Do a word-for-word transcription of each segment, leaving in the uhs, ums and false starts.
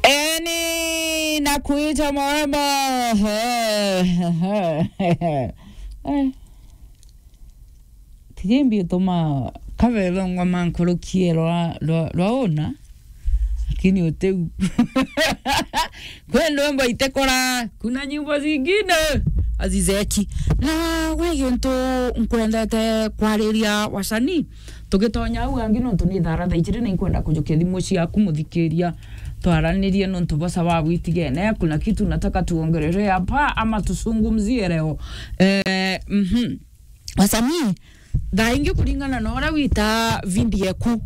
Eni na kuita murembo. Eh. Tijimbi utuma kabelo ngoma nkurukie rwa, rwa, rwa una. Lakini utiu. Kwi ndwimbo itekora, kuna nyimbo zingine azizeki. Na gwi gintu nkwendete kwariria wasanii, tugitonya au angi nontu ni thaara thaa ijiri na inkwenda kujukia thimu ciaku muthikiria, twaranirie nontu bosa wa witigene, kuna kitu nataka tuongerelee hapa ama tuzungumzie leo. Eh, mhm. Wasanii, thaa ingi kuringana na uria witaa video eku,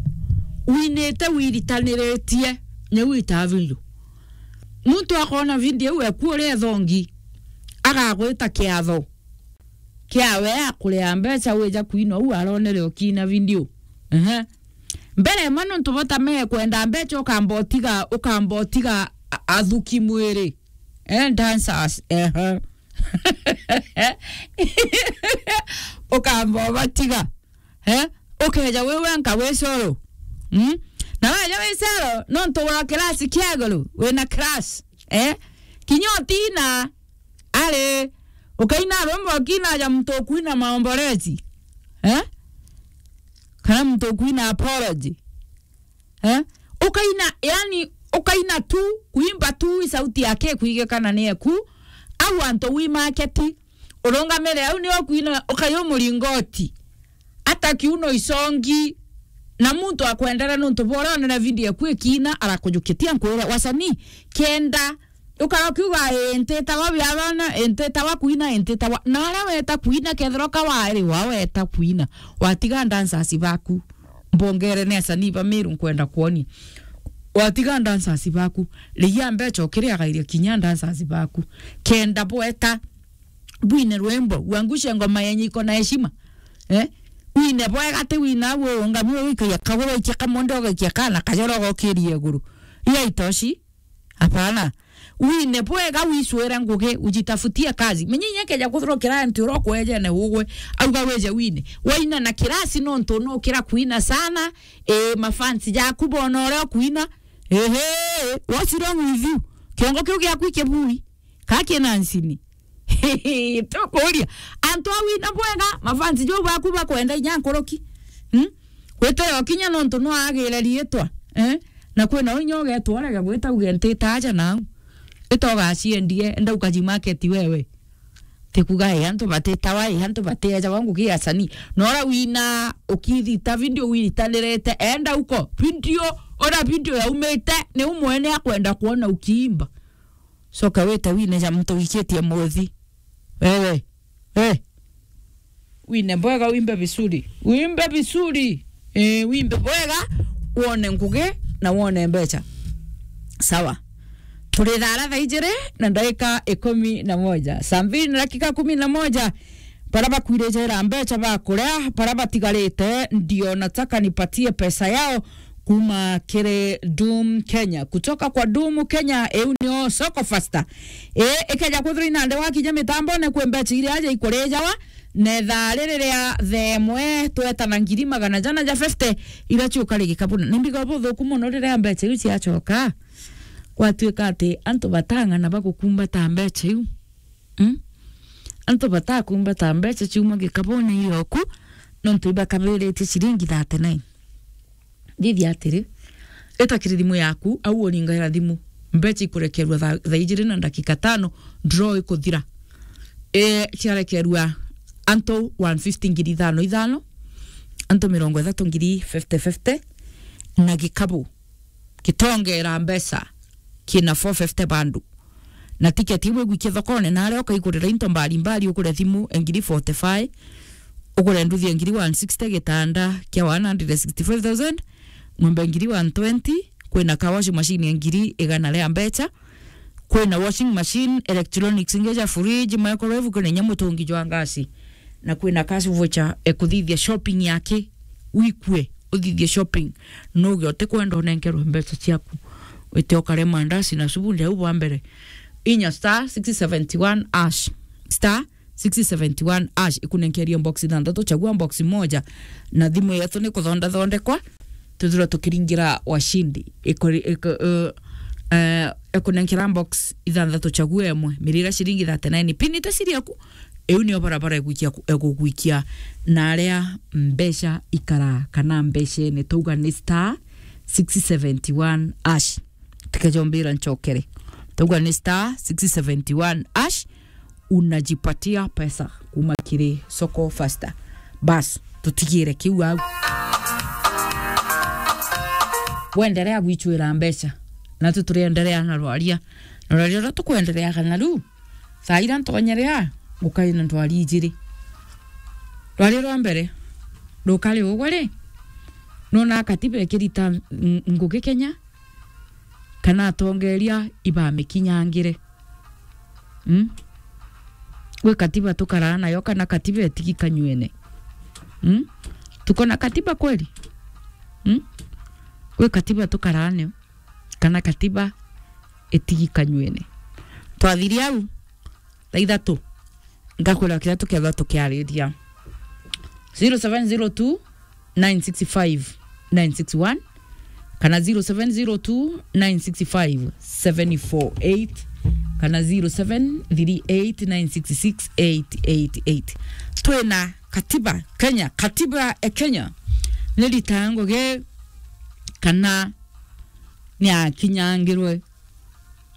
winite wiritaniritie, niu witaa video. Muntu akona video iu eku uria ethongi, agagwita kiatho kiawe akuria mbeca wija kwina uu aronere ukiina video. Ehe. Mbere ma nontu bota mekwenda mbeca ukamba utiga, ukamba utiga a-, athuki mwiri. Eh, dancers. Ehe. Ukamba ubatiga. Eh? Ukeja wi wenka wi coro. Mm? Na weja wi coro, nontu wa kirasi kia iguru, wina crush. Eh? Kinya utina, ari, ukaina rwimbo ukina ja muntu ukwina maombolezi. Eh? Kana muntu ukwina apology. Eh? Ukaina, yani, ukaina tu, kuimba tu, i sauti yake ikwigikana ni eku, au antu wi market, urungamire au ni ukwina, ukayu muringoti, ata kiuno isongi, na muntu akwendera nontu bora onera video eku ikina, arakujukitia nkwire, wasanii, kenda ukara ukiuga, "Ii, ntitawa biabana, ii, ntitawa kuina, ii, ntitawa." Na aria weta kuina, kethirwa ka wairi wa weta kuina, watiga dancers baku. Mbongere ni asanii ba Meru nkwenda kwoni. Watiga dancers baku. Riia mbeca ukiriagairia kinya dancers baku. Kenda bweta, bwine rwimbo, uangushe ngoma yenye iko na heshima. Eh? Wine bwega ti wina uo ungamio wikagia kaguru ikia kamonde ugaikia kana kajoro gokiria iguru. Iyo itoshi. Hapana. Wine bwega, wicwire ngugi, ujitafutie kazi. Menye inya keja kuthirwa kirasi nti uria ukwejene ugwe, auga wije wine. Waina na kirasi nontu nukira kuina sana, e, mafansi jaku bona uria ukuina. Ehe, what's wrong with you? Kiongo kiu giaku ikibui. Ka kina nsini. Tukuria. Antu a wina bwega, mafansi jau baku bakwenda inya nkuruki. Hmm? Gwita yo kinya nontu no agire riitwa, eh? Na kwina inya ugetwa urege gwita uge ntita aja nau. Ita ugaciendie, enda ukaji market wewe. Tikuga, eh, antu batitawa, eh, antu batiejawa ngugi ya sanii. Nora wina ukithita video wiritanirite, enda uko. Video, ora video yaumite, ni umwene akwenda kuona ukiimba. Coka wite wine ja muntu wikitie muthi. Wewe. Eh. Wine bwega, wimbe vizuri. Wimbe vizuri. Eh, wimbe bwega, wone ngugi na wone mbeca. Sawa. Turi thaara thaa ijiri na ndagika ikumi na moja. Saa mbili na dakika kumi na moja. Bara bakwire jera mbeca bakuria, bara batigarite, ndio nataka nipatie pesa yao. Kuma kiri Doom Kenya. Kutoka kwa Doom Kenya, iu nio Soko Faster. I, ikeja kwithirwa inande wakinya mitambone kwi mbeca iria aja ikurijawa, na ithaa riri ria thaa imwe twetana ngiri magana jana ja fifty, iria ciuka ri gikabuna. Ni mbiga buthuku mono riria mbeca iu ciacoka. Gwatuika ati antu batang'ana bagukumbata mbeca iu. Mm? Antu batakumbata mbeca ciuma gikabune ioku, nontu ibakabiritie ciringi thirty-nine. Thithia atiri, ita kiri thimu yaku, au uringaira thimu. Mbeca ikurekerua thaa, thaa ijiri na ndakika tano, draw ikuthira. E, ciarekerua antu one fifty ngiri ithano ithano, antu mirongo ithatu ngiri fifty fifty, na gikabu gitongera mbeca kina four fifty bandu. Na tiketi iu igwikia thokone, na aria ukaigurira into mbari mbari, ugure thimu ya ngiri forty-five, ugure nduthi ya ngiri one sixty, gitanda kia one hundred sixty-five thousand, ng'ombe ngiri one twenty, kwina car wash machine ya ngiri igana ria mbeca, kwina washing machine, electronics ingi ja fridge, microwave, kwina inya mutungi jwa ngasi, na kwina cash voucher, e, kuthithia shopping yake wikue. Uthithie shopping, nuge utikwenda unenkerwe mbeca ciaku, wite ukare mandasi na subundi au bwa mbere. Inya star six seventy one hash, star six seventy one hash, ikunenkerie box ithanthatu, chagua box moja, na thimu yetu ni kuthondathondekwa, tuthirwa tukiringira washindi. Ikori-, iko-, uh, Eh, ekunenkera box ithanthatu chague emwe, mirira ciringi thirty-nine. Pin ite siri yaku, iu nio barabara egwikia ku-, egugwikia na aria mbeca ikara kana mbeca ene, twauga ni star six seventy one hash. Tikejombira nchokere. Twauga ni star six seventy one hash, unajipatia pesa kuma kiri Soko Fasta. Bas, tutigire kiu au. Wenderea gwichwira mbeca. Natu turienderea na rwaria. Na rwaria ruria tukwendereaga naru, thaa ira ntonyerea, gukai na ndwari ijiri. Rwaria rwa mbere, rukari ugwe ri, nona katiba ikirita ng-, ngugi Kenya, kana atongeria ibamikinyangire? Mm? Gwi katiba tukaraa nayo kana katiba itigi kanywene? Mm? Tuko na katiba kweli? Mm? Gwi katiba tukaraa nayo kana katiba itigi kanywene? Twathiria au, thaa ithatu, ngakwira kiria tukethwa tukiariria. Zero seven zero two, nine six five, nine six one, kana zero seven zero two, nine six five, seven four eight, kana zero seven three eight, nine six six, eight eight eight. Twina katiba Kenya, katiba e Kenya. Ni ritango ge kana ni akinyangirwe.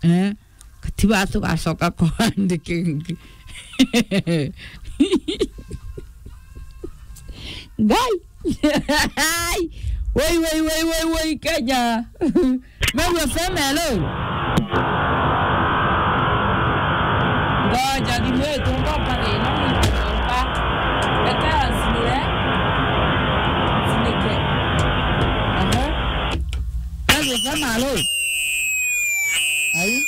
Eh, katiba tugacoka kwandika ingi. Ngai. Woi, woi, woi, woi, woi, Kenya. Meru F M, hello. Ngoja, thimu yetu, ngomba thina, ngomba. Reke nzinire. Nzinike. Aha. Meru F M, hello. Ai.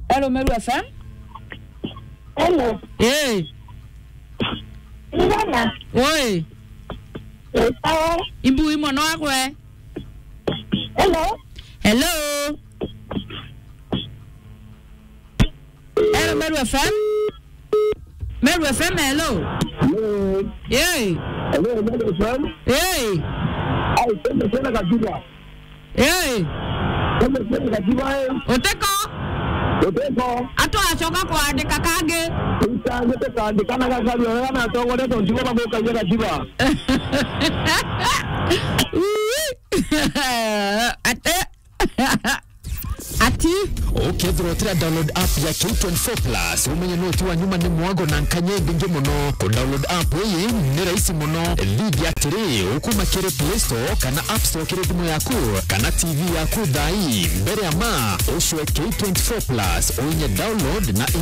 Hello, Meru F M. Hello. Eh. Mbona? Oi. Ni sawa. Imbu imo no akwe. Hello. Hello. Hello, Meru F M. Meru F M, hello. Hello. Yey. Hello, Meru F M. Yey. Ai, sema tena kabisa. Yey. Sema tena kabisa, eh. Uteko. Uteko. Atwacoka kwandika kangi. Utange tukandika na gakari, oya na tongore tontigo bagukagia katiba. Ate. Ati? Ukethirwa utira download app ya K twenty-four plus, umenye noti wa nyuma ni mwago na nkanya ibingi muno. Ku download app iyi ni rahisi muno. Thithia atiri, ukuma kiri Play Store kana App Store kiri thimu yaku kana T V yaku thaa ii. Mbere ya ma, ucwe K twenty-four plus, uinye download na